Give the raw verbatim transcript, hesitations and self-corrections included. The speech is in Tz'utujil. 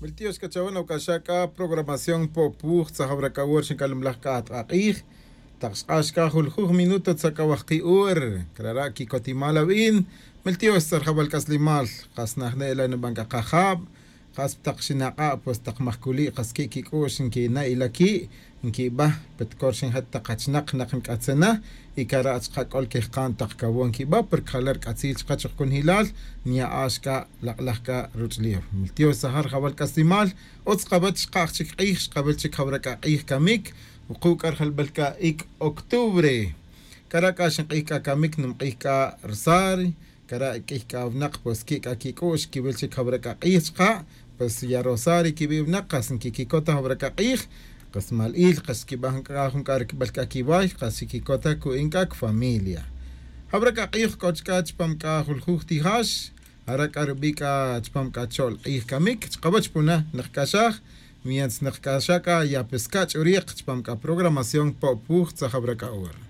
Miltiox c'a chawe nawac'axa c'a programación po'puj tzajawra c'a wor xinc'alumlaj c'a atk'a k'ij. Tak xk'ax c'a juljuj minuto tzak'awaj ki' ur. Crara' quicotimal awin. Miltiox tzarjawal c'aslimal. Kas najne' la niban c'a kajab. Kas tak xinak'a' pues tak majculi' kas qui' quic'u'x nquina' ila qui' nquibaj petcor xin jat tak achinak nak nc'atzena. Y cara' chka c'ol quejka'n tak cawon quibaj porque jala' rc'atzil chka chujcunjilal. Nya'ax c'a lak'laj c'a ruch'ulef miltiox tzajal jawal c'aslimal. Utz kawech xkaj chic k'ij xkawel chic jawra c'a k'ij camic. Wuku' c'a rjalbel c'a ic' octubre. Cara' c'a xink'ij c'a camic nimk'ij c'a rosari. Cara' q'uiy c'a winak pues qui' c'a quic'u'x quiwil chic jawra c'a k'ij chka'. Pues ya rosari quiwi' winak kas nquiquicot ta jawra c'a k'ij. Kas mal il kas xquibaj c'a jun c'a ricbel c'a quiway kas xiquicot ta cu'in c'a cfamilia. Jawra c'a k'ij c'o chca chupam c'a juljuj tijax. Jara' c'a rubi' c'a chupam c'a cho'l k'ij camic chkawech puna nikc'axaj. Mientras nikc'axaj c'a ya pesca' ch'uric chupam c'a programación po'puj tzajawra c'a hora.